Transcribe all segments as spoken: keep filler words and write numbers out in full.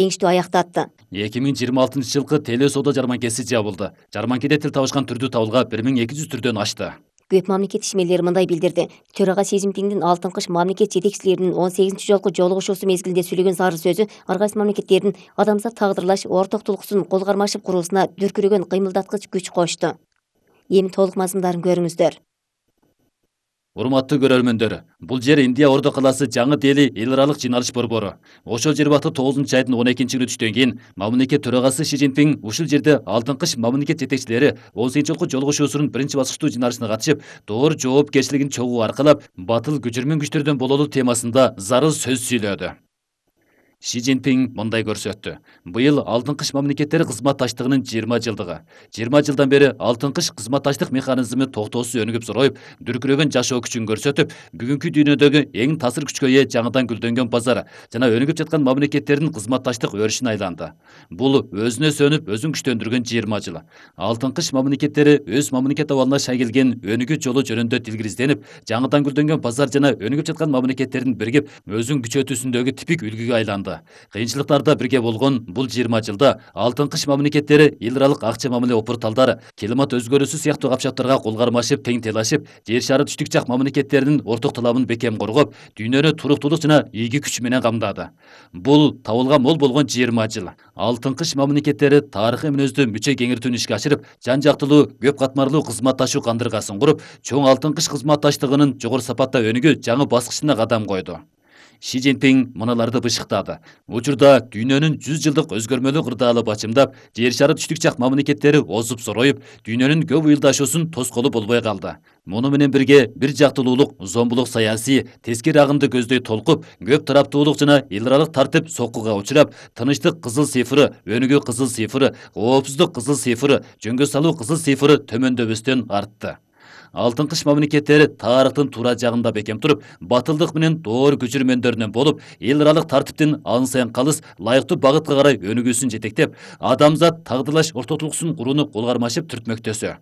жеңиштүү аяктатты. эки миң жыйырма алтынчы жылкы теле соода жарманкеси жабылды. Жарманкеде тил табышкан түрдүү табылга бир миң эки жүз түрдөн ашты. Көп мамлекет ишмерлери мындай билдирди. Төрага Си Цзиньпиндин Алтын кыш мамлекет жетекчилеринин он сегизинчи жолку жолугушуусу мезгилинде сүйлөгөн зарыл сөзү ар кайсы мамлекеттердин адамзат тагдырлаш орток тулкусун кол кармашып куруусуна дүркүрөгөн кыймылдаткыч күч кошту. Эми толук мазмундарын көрүңүздөр. Урматтуу көрөрмөндөр, бул жер Индия Ордо калаасы Жаңы Дели эл аралык жыйналыш борбору. Ошол жер бакты тогузунчу айдын он экинчи күнү түштөн кийин мамлекет төрагасы Си Цзиньпин ушул жерде Алтын кыш мамлекет жетекчилери он сегизинчи жолку жолугушуусунун биринчи баскычтуу жыйналышына катышып, доор жоопкерчилигин чогуу аркалап, батыл көчүрмөн күчтөрдөн бололу темасында зарыл сөз сүйлөдү. Си Цзиньпин мындай көрсөттү. Быйыл Алтын кыш мамлекеттери кызматташтыгынын жыйырма жылдыгы. жыйырма жылдан бери Алтын кыш кызматташтык механизми токтоосуз өнүгүп зороюп, дүркүрөгөн жашоо күчүн көрсөтүп, бүгүнкү дүйнөдөгү эң таасир күчкө ээ жаңыдан гүлдөнгөн базар жана өнүгүп жаткан мамлекеттердин кызматташтык өрүшүнө айланды. Бул өзүнө сөнүп, өзүн күчтөндүргөн жыйырма жыл. Алтын кыш мамлекеттери өз мамлекет абалына шай келген өнүгүү жолу жөнүндө дилгиризденип, жаңыдан гүлдөнгөн базар жана өнүгүп жаткан мамлекеттердин биригип, өзүн күчөтүүсүндөгү типик үлгүгө айланды. Кыйынчылыктарда бирге болгон бул жыйырма жылда Алтын кыш мамлекеттери эл аралык акча мамиле опурталдар, климат өзгөрүүсү сыяктуу капчаптарга кол кармашып, тең тейлашып, жер шары түштүк жак мамлекеттеринин орток таламын бекем коргоп, дүйнөнү туруктуулук жана ийги күч менен камдады. Бул табылга мол болгон жыйырма жыл. Алтын кыш мамлекеттери тарыхый мүнөздүү мүчө кеңиртүүнү ишке ашырып, жан жактылуу, көп катмарлуу кызматташуу кандыргасын куруп, чоң Алтын кыш кызматташтыгынын жогору сапатта өнүгүү жаңы баскычына кадам койду. Си Цзиньпин мыналарды бышыктады. Учурда дүйнөнүн жүз жылдык өзгөрмөлүү кырдаалы бачымдап, жер шары түштүк жак мамлекеттери озуп зороюп, дүйнөнүн көп ыйылдашуусун тоскоолу болбой калды. Муну менен бирге бир жактылуулук, зомбулук саясий, тескери агымды көздөй толкуп, көп тараптуулук жана эл аралык тартип соккуга учурап, тынычтык кызыл цифры, өнүгүү кызыл цифры, коопсуздук кызыл цифры, жөнгө салуу кызыл цифры төмөндөбөстөн артты. Алтын кыш мамлекеттери тарыхтын туура жагында бекем туруп, батылдык менен доор көчүрмөндөрүнөн болуп, эл аралык тартиптин ан сайын калыс, лайыктуу багытка карай өнүгүүсүн жетектеп, адамзат тагдырлаш ортотулуксун курууну кол кармашып түртмөктөсө.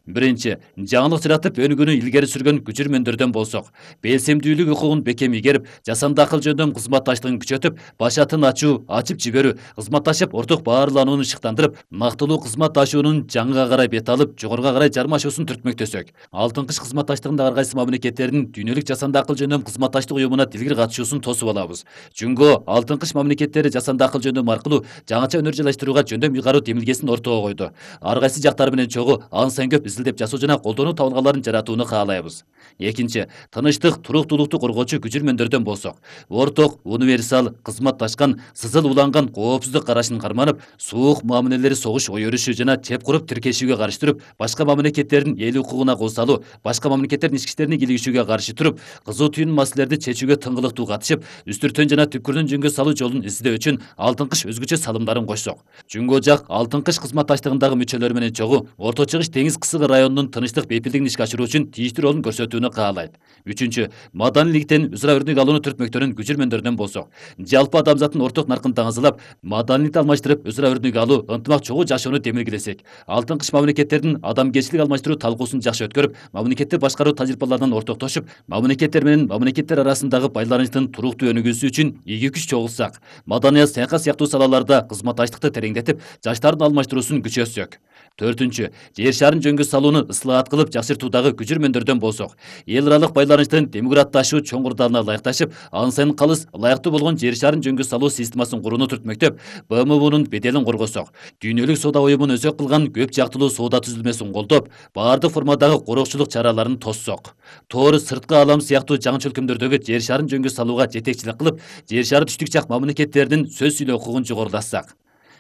Биринчи, жаңылык жаратып өнүгүүнү илгери сүргөн көчүрмөндөрдөн болсок, белсемдүүлүк укугун бекем ийгерип, жасанды акыл жөндөм кызматташтыгын күчөтүп, башатын ачуу, ачып жиберүү, кызматташып орток баарланууну ышыктандырып, нактылуу кызматташуунун жаңыга карай бет алып, жогоруга карай жармашуусун түртмөктөсөк, Алтын кыш кызматташтыгындагы ар кайсы мамлекеттердин дүйнөлүк жасанды акыл жөндөм кызматташтык уюмуна дилгир катышуусун тосуп алабыз. Жөнгө Алтын кыш мамлекеттери жасанды акыл жөндөм аркылуу жаңыча өнөр жайлаштырууга жөндөм ыйгаруу демилгесин ортого койду. Ар кайсы жактары менен чогуу ан сайын көп изилдеп жасоо жана колдонуу табылгаларын жаратууну каалайбыз. Экинчи, тынычтык, туруктуулукту коргоочу көчүрмөндөрдөн болсок, орток, универсал, кызматташкан, сызыл уланган коопсуздук карашын карманып, суук мамилелери согуш ой өрүшү жана чеп куруп тиркешүүгө каршы туруп, башка мамлекеттердин эл укугуна кол салуу, башка мамлекеттердин ички иштерине кийлигишүүгө каршы туруп, кызуу түйүн маселелерди чечүүгө тыңгылыктуу катышып, үстүртөн жана түпкүрдүн жөнгө салуу жолун издөө үчүн Алтын кыш өзгөчө салымдарын кошсок, жөнгө жак Алтын кыш кызматташтыгындагы мүчөлөр менен чогуу Орто Чыгыш деңиз кысыгы районунун тынычтык бейпилдигин ишке ашыруу үчүн тийиштүү ролун көрсөтүүнү каалайт. Үчүнчү, маданиликтен өзара өрнөк алууну түртмөктөрүн көчүрмөндөрдөн болсок, жалпы адамзаттын орток наркын таңызылап, маданиlikти алмаштырып, өзара өрнөк алуу, ынтымак чогуу жашоону демилгелесек, Алтын кыш мамлекеттердин адамгерчилик алмаштыруу талкуусун жакшы өткөрүп, мамлекетти башкаруу тажрыйбаларынан ортоктошуп, мамлекеттер менен мамлекеттер арасындагы байланыштын туруктуу өнүгүүсү үчүн ийги күч чогулсак, маданият, саясат сыяктуу салаларда кызматташтыкты тереңдетип, жаштардын алмаштыруусун күчөтсөк. Төртүнчү, жер шарын жөнгө салууну ыслаат кылып жакшыртуудагы көчүрмөндөрдөн болсок, эл аралык байланыштын демократдашуу чоң курдалына ылайыкташып, ан сайын калыс, ылайыктуу болгон жер шарын жөнгө салуу системасын курууну түртмөктөп, Б М Унун беделин коргосок, дүйнөлүк соода уюмун өзөк кылган көп жактылуу соода түзүлмөсүн колдоп, баардык формадагы короокчулук чараларын тоссок, тоор сырткы алам сыяктуу жаңы чөлкөмдөрдөгү жер шарын жөнгө салууга жетекчилик кылып, жер шары түштүк жак мамлекеттердин сөз сүйлөө укугун жогорулатсак.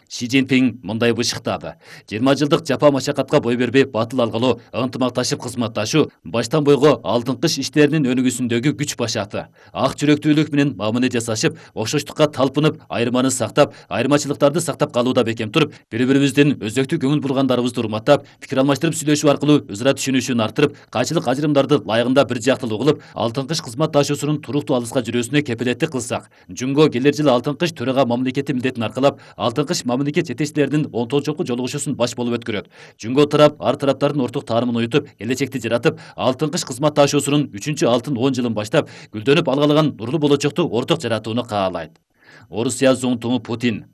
Си Цзиньпин мындай бышыктады. жыйырма жылдык жапа машакатка бой бербей батыл алгалоо, ынтымакташып кызматташуу баштан бойго Алтын кыш иштеринин өнүгүүсүндөгү күч башаты. Ак жүрөктүүлүк менен мамиле жасашып, окшоштукка талпынып, айырманы сактап, айырмачылыктарды сактап калууда бекем туруп, бири-бирибиздин өзөктүү көңүл бургандарыбызды урматтап, пикир алмаштырып сүйлөшүү аркылуу өзара түшүнүүшүн арттырып, кайчылык ажырымдарды layыгында бир жактылуу кылып, Алтын кыш кызматташуусунун туруктуу алыска жүрүүсүнө кепилеттик кылсак, жөнгө келер жылы Алтын кыш төрага мамлекети милдетин аркалап, Алтын кыш мамлекет жетекчилеринин он тогузунчу жолку жолугушуусун баш болуп өткөрөт. Жөнгө тарап ар тараптардын орток таарымын уютуп, келечекти жаратып, Алтын кыш кызматташуусунун үчүнчү алтын он жылын баштап, гүлдөнүп алгалаган нурлуу болочокту орток жаратууну каалайт. Орусия зуңтуңу Путин.